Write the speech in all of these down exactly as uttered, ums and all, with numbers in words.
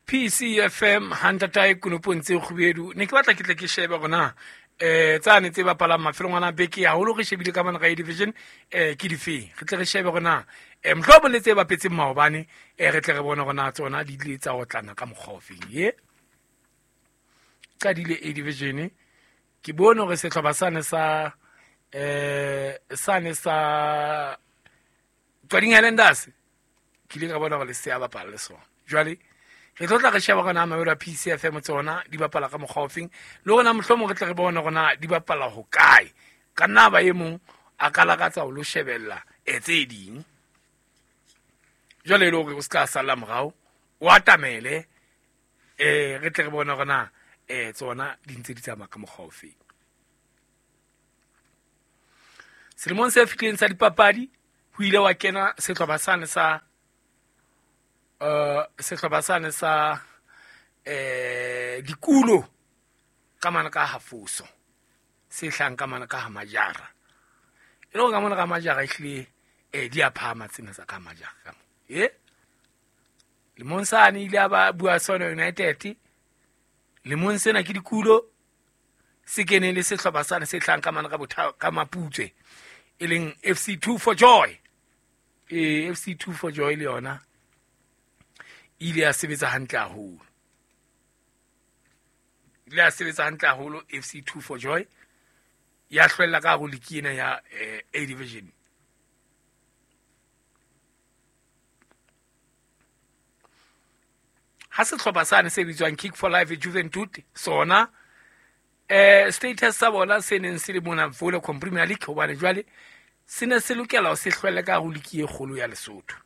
P C F M hantatae konopong tse kgubedu. Ne ke batla ke tle ke shebe hore na eh tsane tse bapalang mafelong ana beke haholo re shebile ka mona ka A division eh ke difeng. Re tle re shebe hore na eh mohlomong le tse bapetseng maobane eh re tle re bone hore na tsona di ile tsa otlana ka mokgwa ofeng. Ye qadile A division ke bone hore sehlopha sane sa eh sane sa Tswading Highlanders ke ile ka bona hore le se a bapala le sona. Jwale re tlo tla re sheba hore na mabelo a P C F M tsona di bapala ka mokgwa ofeng le rona mohlomong re tle re bone hore na di bapala hokae. Ka nna ba e mong a ka lakatsa ho lo shebella e tse ding. Jwale e le hore o se ka salla morao, o atamele eh re tle re bone hore na eh tsona di ntse di tsamaya ka mokgwa ofeng. Selemong se fetileng sa dipapadi ho ile wa kena sehlopha sane sa Uh, sehlopha sane sa eh dikulo ka mana ka hafoso se hlang ka mana ka ha majara e le ka mana ka majara ehlile eh di a phahama tsena tsa ka majara ka mo e lemong sane ile a ba bua sona United lemong sena ke dikulo se kene le sehlopha sane se hlang ka mana ka botha ka Maputswe e leng F C two for Joy eh F C two for Joy le yona ile ya sebetsa hantle haholo. Ile ya sebetsa hantle haholo F C two for Joy ya hlwella ka hare ligi ena ya eh, A division. Ha sehlopha sane se bitswang Kick for Life Juventud sona eh status sa bona se neng se le mona Vodacom Premier League hobane jwale se ne se lokela ho se hlwelle ka hare ligi e kgolo ya Lesotho.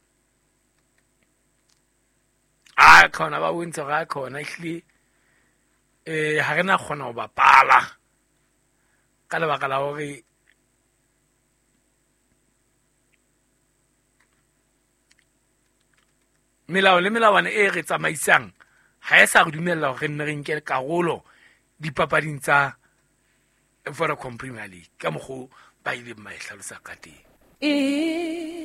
A khona ba bontse ga khona ehlile eh ha re na kgona ho bapala ka lebaka la hore melao le melawana e re tsamaisang ha e sa re dumella hore re nne re nke karolo dipapading tsa Vodacom Premier League ka mokgo ba ileng ba e hlalosa ka teng. E